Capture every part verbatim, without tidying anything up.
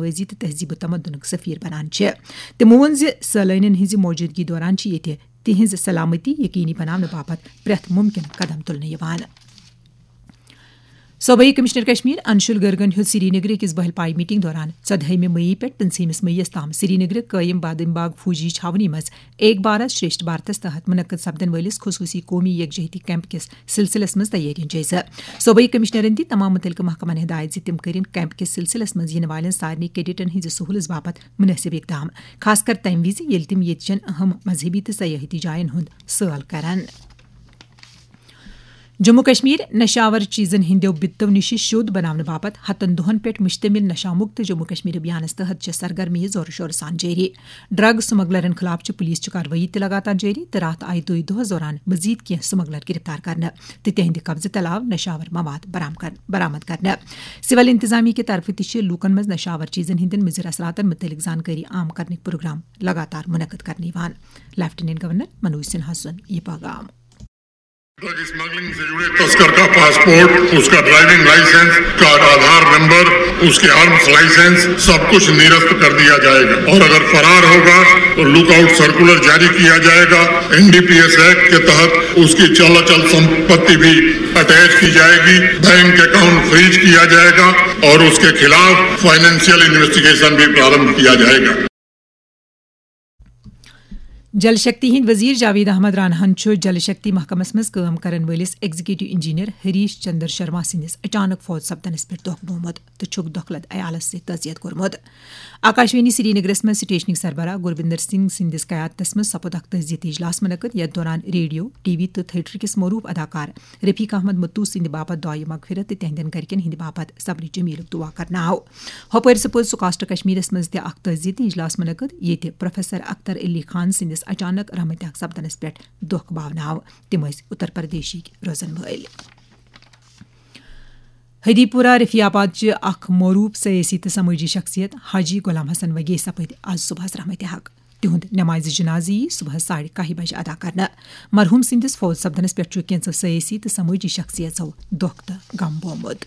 بازی تہٕ تہذیب و تمدنُک سفیر بنان چھِ۔ تِمو ووٚن زِ سٲلٲنین ہٕنٛزِ موجودگی دوران چھِ ییٚتہِ تِہنٛز سلامتی یقینی بناونہٕ باپتھ پرٛٮ۪تھ ممکن قدم تُلنہٕ یِوان۔ صوبائی کمشنر کشمیر انشول گرگن ہیوٚت سری نگرٕ کِس بہل پاے میٹنگ دوران ژۄدہٲیمہِ مئی پٮ۪ٹھ پٕنٛژٕہمِس مئیس تام سری نگرٕ قٲیِم بادم باغ فوجی چھاونی منٛز ایک بھارت شریشٹھ بھارتس تحت منعقد سپدن وٲلِس خصوصی قومی یکجہتی کیمپ کِس سلسلس منٛز تیٲرین جٲیزٕ۔ صوبائی کمشنرن دِتۍ تمام متعلقہٕ محکمن ہدایت زِ تِم کٔرِن کیمپ کِس سلسلس منٛز یِنہٕ والٮ۪ن سارنٕے کیڈٹن ہٕنٛزِ سہوٗلژ باپتھ مناسب اقدام، خاص کر تمہِ وِزِ ییٚلہِ تِم ییٚتہِ چٮ۪ن اہم مذہبی تہٕ سیاحتی جاین ہُنٛد سٲل کرن۔ جموں کشمیر نشاور چیزن ہٕنٛدیو بِتو نِش شوٚد بناونہٕ باپتھ ہتن دۄہن پٮ۪ٹھ مشتمل نشہ مکت جموں کشمیر ابھیانس تحت چھِ سرگرمی زورٕ شورٕ سان جٲری۔ ڈرگ سمگلرن خلاف چھِ پولیس چھِ کاروٲیی تہِ لگاتار جٲری تہٕ راتھ آیہِ دۄیہِ دۄہس دوران مزید کینٛہہ سمگلر گرفتار کرنہٕ تہٕ تِہنٛدِ قبضہٕ تہٕ علاوٕ نشاور مواد برآم کر-، برآمد کرنہٕ۔ سول انتظامیہ کہِ طرفہٕ تہِ چھِ لوٗکن منٛز نشاور چیزن ہٕنٛدٮ۪ن مُضر اثراتن مُتعلق زانکٲری عام کرنٕکۍ پروگرام لگاتار منعقد کرنہٕ یِوان۔ لیفٹیننٹ گورنر منوج سنہا سُنٛد یہِ پیغام۔ ڈرگ اسمگلنگ سے جڑے تسکر کا پاسپورٹ، اس کا ڈرائیونگ لائسنس، اس کا آدھار نمبر، اس کے آرمز لائسنس، سب کچھ نرست کر دیا جائے گا اور اگر فرار ہوگا تو لک آؤٹ سرکولر جاری کیا جائے گا۔ N D P S act کے تحت اس کی چل اچل سمپتی بھی اٹیچ کی جائے گی، بینک اکاؤنٹ فریز کیا جائے گا اور اس کے خلاف فائنینشیل انویسٹیگیشن بھی پرارمبھ کیا جائے گا۔ جل شکتی ہٕنٛدۍ وزیر جاوید احمد راناہن چھُ جل شکتی محکمس منٛز کٲم کرن وٲلِس ایگزیکٹو انجینئر ہریش چندر شرما سٕنٛدِس اچانک فوت سپدنس پٮ۪ٹھ دۄکھ بومُت تہٕ چھُکھ دۄکھلد عیالس سۭتۍ تعزیت کوٚرمُت۔ آکاشوانی سری نگرس منٛز سٹیشنٕکۍ سربراہ گوروندر سنگھ سٕنٛدِس قیادتس منٛز سپُد اکھ تعزیتی اجلاس منعقد، یتھ دوران ریڈیو، ٹی وی تہٕ تھیٹر کِس معروف اداکار رفیق احمد متو سٕنٛدِ باپتھ دعایہِ مغفرت تہٕ تِہنٛدٮ۪ن گرِکٮ۪ن ہٕنٛدِ باپتھ صبرِ جمیلُک دعا کرنہٕ آو۔ ہۄپٲرۍ سپُد سکاسٹر کشمیرس منٛز تہِ اکھ تعزیتی اجلاس منعقد، ییٚتہِ پروفیسر اختر علی خان سٕنٛدِس اچانک رحمتِ حق سپدنس پٮ۪ٹھ دۄکھ باونہٕ آو۔ تِم ٲسۍ اتر پردیشٕکۍ روزن وٲلۍ۔ ہدی پورہ رفیع آباد چہِ اکھ معروف سیٲسی تہٕ سمٲجی شخصیت حاجی غلام حسن وگے سپٕدۍ آز صبحس رحمتِ حق۔ تِہُنٛد نمازِ جنازٕ یی صبحس ساڑِ کاہہِ بجہِ ادا کرنہٕ۔ مرحوم سٕنٛدِس فوت سپدنس پٮ۪ٹھ چھُ کینٛژو سیٲسی تہٕ سمٲجی شخصیژو دۄکھ تہٕ غم بومُت۔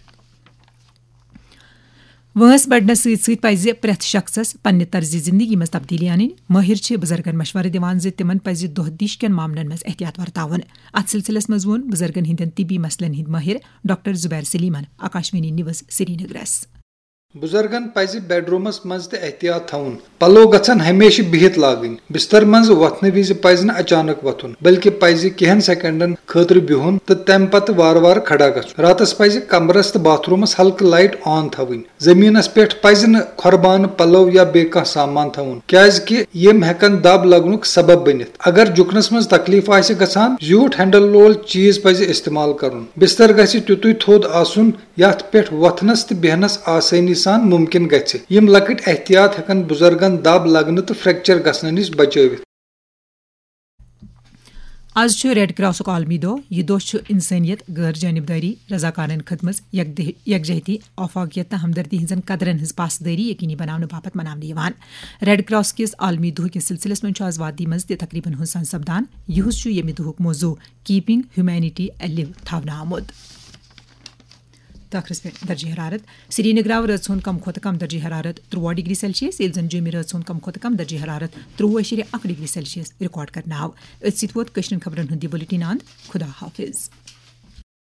وٲنٛس بڑنس سۭتۍ سۭتۍ پزِ پرٛٮ۪تھ شخصس پننہِ طرزِ زندگی منٛز تبدیلی انٕنۍ۔ مٲہِر چھِ بُزرگن مشورٕ دِوان زِ تِمن پزِ دۄہ دِش کٮ۪ن معاملن منٛز احتیاط ورتاوُن۔ اتھ سلسلس منٛز ووٚن بُزرگن ہٕنٛدٮ۪ن طبی مسلن ہٕنٛدۍ مٲہِر ڈاکٹر زبیر سلیمن آکاشوانی نیوز سرینگرس۔ بُزرگن پزِ بیڈ رومس منٛز تہِ احتیاط تھاوُن۔ پلو گژھن ہمیشہٕ بِہِتھ لاگٕنۍ۔ بستر منٛز وۄتھنہٕ وِزِ پزِ نہٕ اچانک وۄتھُن، بلکہِ پزِ کینٛہن سیکنڈن خٲطرٕ بِہُن تہٕ تمہِ پتہٕ وارٕ وارٕ کھڑا گژھُن۔ راتس پزِ کمرس تہٕ باتھ رومس ہلکہٕ لایٹ آن تھاوٕنۍ۔ زمینس پٮ۪ٹھ پزِ نہٕ کھۄربانہٕ پلو یا بیٚیہِ کانٛہہ سامان تھاوُن، کیازِ کہِ یِم ہٮ۪کن دب لگنُک سبب بٔنِتھ۔ اگر جُکنس منٛز تکلیف آسہِ گژھان، زیوٗٹھ ہینڈل وول چیز پزِ استعمال کرُن۔ بستر گژھِ تیُتُے تھوٚد آسُن یتھ پٮ۪ٹھ وۄتھنس تہٕ بیہنس آسٲنی سان ممکن گژھِ۔ یِم لۄکٕٹۍ احتیاط ہٮ۪کن بُزرگن دب لگنہٕ تہٕ فریکچر گژھنہٕ نِش بچٲوِتھ۔ از چھُ ریڈ کراسُک عالمی دۄہ۔ یہِ دۄہ چھُ انسٲنیت، غٲر جانبدٲری، رضاکارن خدمت، یکدِ-، یکجہتی، آفاقیت تہٕ ہمدردی ہٕنٛزن قدرن ہٕنٛز پاسدٲری یقینی بناونہٕ باپتھ مناونہٕ یِوان۔ ریڈ کراس کِس عالمی دۄہ کِس سلسلس منٛز چھُ از وادی منٛز تہِ تقریبن ہُنٛد سان سپدان۔ یِہُس چھُ ییٚمہِ دۄہُک موضوع Keeping Humanity Alive تھاونہٕ آمُت۔ تہٕ ٲخرس پٮ۪ٹھ درجہ حرارت۔ سرینگر آو رٲژ ہُنٛد کم کھۄتہٕ کم درجہ حرارت تُرٛواہ ڈگری سیلسیس، ییٚلہِ زن جوٚمہِ رٲژ ہُنٛد کم کھۄتہٕ کم درجہ حرارت تُرٛوُہ اَشیرِ اکھ ڈگری سیلسیس ریکارڈ کرنہٕ آو۔ أتھۍ سۭتۍ ووت کٲشرٮ۪ن خبرن ہُنٛد یہِ بُلٹن اند۔ خدا حافظ۔